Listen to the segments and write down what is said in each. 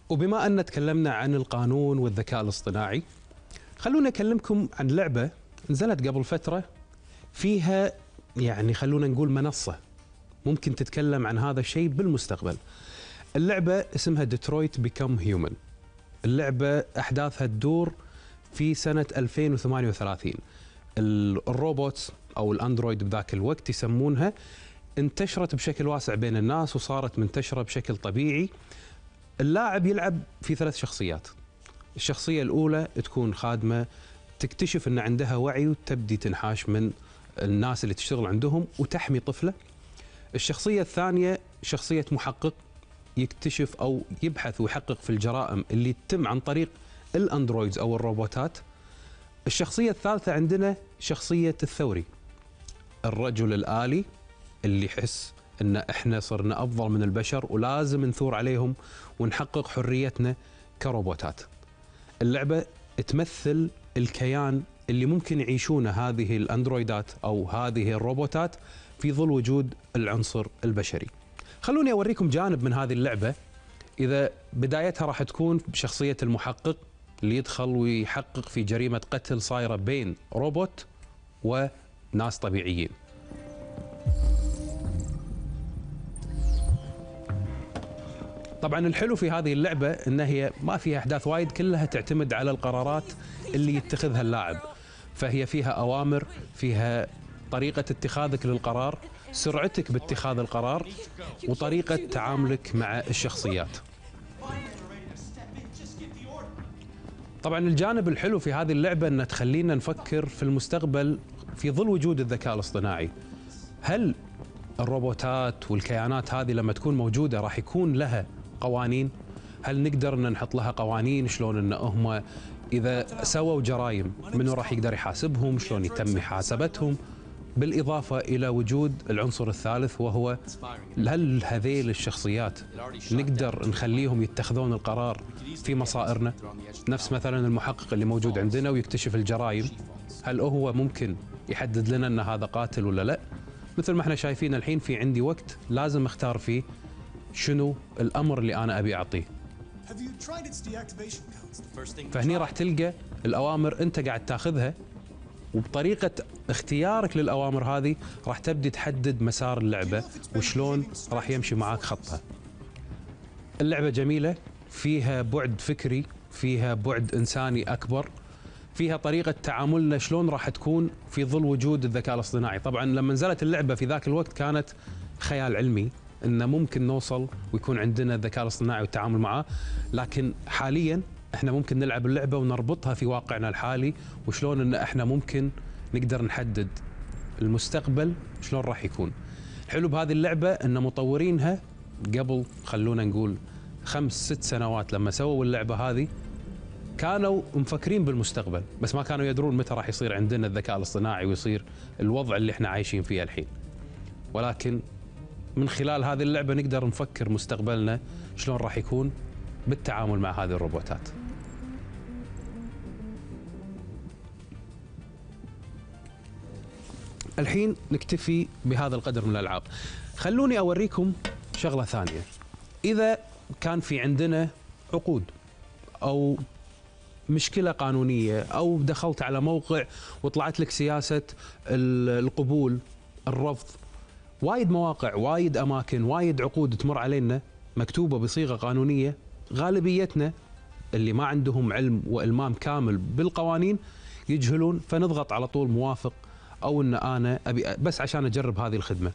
وبما أن تكلمنا عن القانون والذكاء الاصطناعي، خلونا أكلمكم عن لعبة نزلت قبل فترة فيها خلونا نقول منصة ممكن تتكلم عن هذا الشيء بالمستقبل. اللعبة اسمها ديترويت بيكم هيومن. اللعبة أحداثها تدور في سنة 2038. الروبوتس أو الأندرويد بذاك الوقت يسمونها انتشرت بشكل واسع بين الناس وصارت منتشرة بشكل طبيعي. اللاعب يلعب في 3 شخصيات. الشخصية الأولى تكون خادمة تكتشف أن عندها وعي وتبدي تنحاش من الناس اللي تشتغل عندهم وتحمي طفلة. الشخصية الثانية شخصية محقق يكتشف أو يبحث ويحقق في الجرائم اللي تتم عن طريق الأندرويدز أو الروبوتات. الشخصية الثالثة عندنا شخصية الثوري، الرجل الآلي اللي يحس أن إحنا صرنا أفضل من البشر ولازم نثور عليهم ونحقق حريتنا كروبوتات. اللعبة تمثل الكيان اللي ممكن يعيشونه هذه الأندرويدات أو هذه الروبوتات في ظل وجود العنصر البشري. خلوني أوريكم جانب من هذه اللعبة. إذا بدايتها راح تكون بشخصية المحقق اللي يدخل ويحقق في جريمة قتل صايرة بين روبوت وناس طبيعيين. طبعا الحلو في هذه اللعبة ان هي ما فيها احداث وايد، كلها تعتمد على القرارات اللي يتخذها اللاعب. فهي فيها اوامر، فيها طريقة اتخاذك للقرار، سرعتك باتخاذ القرار، وطريقة تعاملك مع الشخصيات. طبعا الجانب الحلو في هذه اللعبة ان تخلينا نفكر في المستقبل في ظل وجود الذكاء الاصطناعي. هل الروبوتات والكيانات هذه لما تكون موجودة راح يكون لها قوانين؟ هل نقدر ان نحط لها قوانين؟ شلون ان هم اذا سووا جرائم منو راح يقدر يحاسبهم؟ شلون يتم محاسبتهم؟ بالاضافه الى وجود العنصر الثالث وهو هل هذيل الشخصيات نقدر نخليهم يتخذون القرار في مصائرنا؟ نفس مثلا المحقق اللي موجود عندنا ويكتشف الجرائم، هل هو ممكن يحدد لنا ان هذا قاتل ولا لا؟ مثل ما احنا شايفين الحين في عندي وقت لازم اختار فيه شنو الامر اللي انا ابي اعطيه. فهني راح تلقى الاوامر انت قاعد تاخذها، وبطريقه اختيارك للاوامر هذه راح تبدي تحدد مسار اللعبه وشلون راح يمشي معاك خطها. اللعبه جميله، فيها بعد فكري، فيها بعد انساني اكبر، فيها طريقه تعاملنا شلون راح تكون في ظل وجود الذكاء الاصطناعي. طبعا لما نزلت اللعبه في ذاك الوقت كانت خيال علمي ان ممكن نوصل ويكون عندنا الذكاء الاصطناعي والتعامل معه، لكن حاليا احنا ممكن نلعب اللعبه ونربطها في واقعنا الحالي، وشلون ان احنا ممكن نقدر نحدد المستقبل شلون راح يكون. الحلو بهذه اللعبه ان مطورينها قبل خلونا نقول 5-6 سنوات لما سووا اللعبه هذه كانوا مفكرين بالمستقبل، بس ما كانوا يدرون متى راح يصير عندنا الذكاء الاصطناعي ويصير الوضع اللي احنا عايشين فيه الحين. ولكن من خلال هذه اللعبة نقدر نفكر مستقبلنا شلون راح يكون بالتعامل مع هذه الروبوتات. الحين نكتفي بهذا القدر من الألعاب. خلوني أوريكم شغلة ثانية. إذا كان في عندنا عقود أو مشكلة قانونية أو دخلت على موقع وطلعت لك سياسة القبول، الرفض، وايد مواقع، وايد أماكن، وايد عقود تمر علينا مكتوبة بصيغة قانونية، غالبيتنا اللي ما عندهم علم وإلمام كامل بالقوانين يجهلون، فنضغط على طول موافق أو أن أنا أبي بس عشان أجرب هذه الخدمة.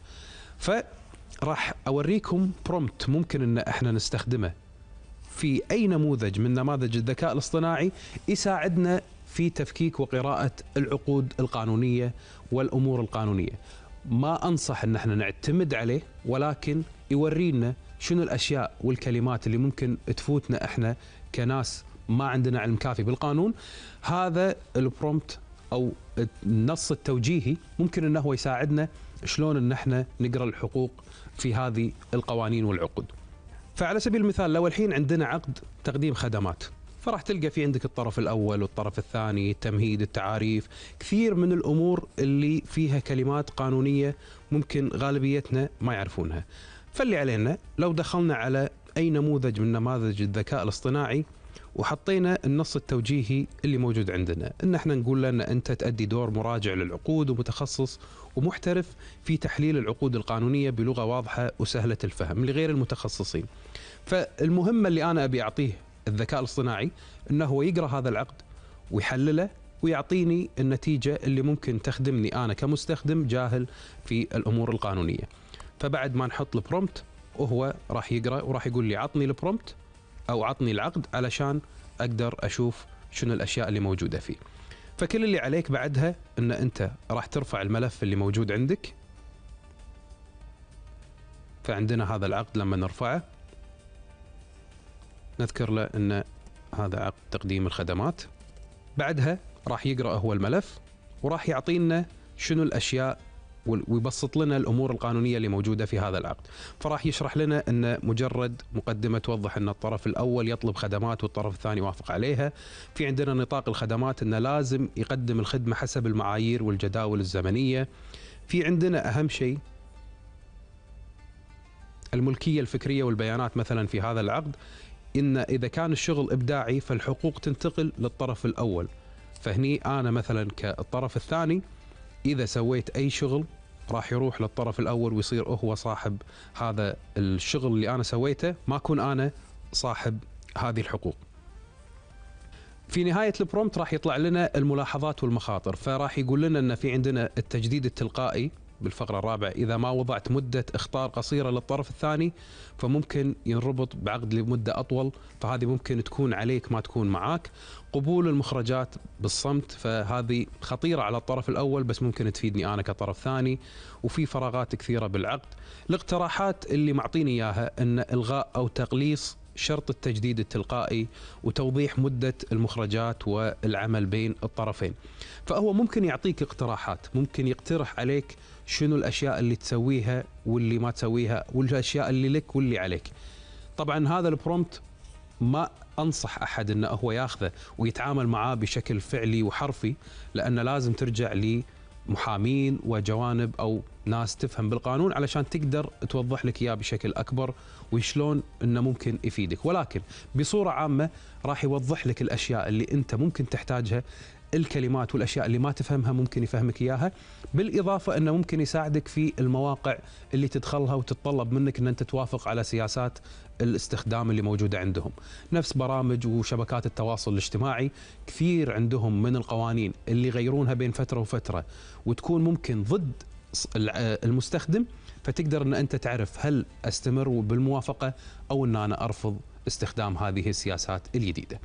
فراح أوريكم برومبت ممكن أن احنا نستخدمه في أي نموذج من نماذج الذكاء الاصطناعي يساعدنا في تفكيك وقراءة العقود القانونية والأمور القانونية. ما أنصح أن احنا نعتمد عليه، ولكن يورينا شنو الأشياء والكلمات اللي ممكن تفوتنا احنا كناس ما عندنا علم كافي بالقانون. هذا البرومبت أو النص التوجيهي ممكن أنه هو يساعدنا شلون أن احنا نقرأ الحقوق في هذه القوانين والعقود. فعلى سبيل المثال لو الحين عندنا عقد تقديم خدمات، فراح تلقى في عندك الطرف الأول والطرف الثاني، التمهيد، التعاريف، كثير من الأمور اللي فيها كلمات قانونية ممكن غالبيتنا ما يعرفونها. فاللي علينا لو دخلنا على أي نموذج من نماذج الذكاء الاصطناعي وحطينا النص التوجيهي اللي موجود عندنا، إن احنا نقول له أن أنت تؤدي دور مراجع للعقود ومتخصص ومحترف في تحليل العقود القانونية بلغة واضحة وسهلة الفهم لغير المتخصصين. فالمهمة اللي أنا أبي أعطيه الذكاء الاصطناعي أنه هو يقرأ هذا العقد ويحلله ويعطيني النتيجة اللي ممكن تخدمني أنا كمستخدم جاهل في الأمور القانونية. فبعد ما نحط البرومبت وهو راح يقرأ وراح يقول لي عطني البرومبت أو عطني العقد علشان أقدر أشوف شنو الأشياء اللي موجودة فيه. فكل اللي عليك بعدها أن أنت راح ترفع الملف اللي موجود عندك. فعندنا هذا العقد لما نرفعه نذكر له أن هذا عقد تقديم الخدمات. بعدها راح يقرأ هو الملف وراح يعطينا شنو الأشياء ويبسط لنا الأمور القانونية اللي موجودة في هذا العقد. فراح يشرح لنا أن مجرد مقدمة توضح أن الطرف الأول يطلب خدمات والطرف الثاني يوافق عليها. في عندنا نطاق الخدمات أنه لازم يقدم الخدمة حسب المعايير والجداول الزمنية. في عندنا أهم شيء الملكية الفكرية والبيانات مثلا في هذا العقد، إن إذا كان الشغل إبداعي فالحقوق تنتقل للطرف الأول. فهني أنا مثلا كالطرف الثاني إذا سويت أي شغل راح يروح للطرف الأول ويصير هو صاحب هذا الشغل اللي أنا سويته، ما أكون أنا صاحب هذه الحقوق. في نهاية البرومبت راح يطلع لنا الملاحظات والمخاطر. فراح يقول لنا أن في عندنا التجديد التلقائي بالفقرة الرابعة، إذا ما وضعت مدة اختار قصيرة للطرف الثاني فممكن ينربط بعقد لمدة أطول، فهذه ممكن تكون عليك ما تكون معاك. قبول المخرجات بالصمت، فهذه خطيرة على الطرف الأول بس ممكن تفيدني أنا كطرف ثاني. وفي فراغات كثيرة بالعقد. الاقتراحات اللي معطيني إياها أن إلغاء أو تقليص شرط التجديد التلقائي وتوضيح مدة المخرجات والعمل بين الطرفين. فهو ممكن يعطيك اقتراحات، ممكن يقترح عليك شنو الأشياء اللي تسويها واللي ما تسويها والأشياء اللي لك واللي عليك. طبعا هذا البرومبت ما أنصح أحد أنه هو ياخذه ويتعامل معاه بشكل فعلي وحرفي، لأن لازم ترجع لمحامين وجوانب أو ناس تفهم بالقانون علشان تقدر توضح لك إياه بشكل أكبر وشلون أنه ممكن يفيدك. ولكن بصورة عامة راح يوضح لك الأشياء اللي أنت ممكن تحتاجها، الكلمات والأشياء اللي ما تفهمها ممكن يفهمك إياها. بالإضافة أنه ممكن يساعدك في المواقع اللي تدخلها وتتطلب منك أن أنت توافق على سياسات الاستخدام اللي موجودة عندهم. نفس برامج وشبكات التواصل الاجتماعي كثير عندهم من القوانين اللي يغيرونها بين فترة وفترة وتكون ممكن ضد المستخدم، فتقدر أن أنت تعرف هل أستمر بالموافقة أو أن أنا أرفض استخدام هذه السياسات الجديدة.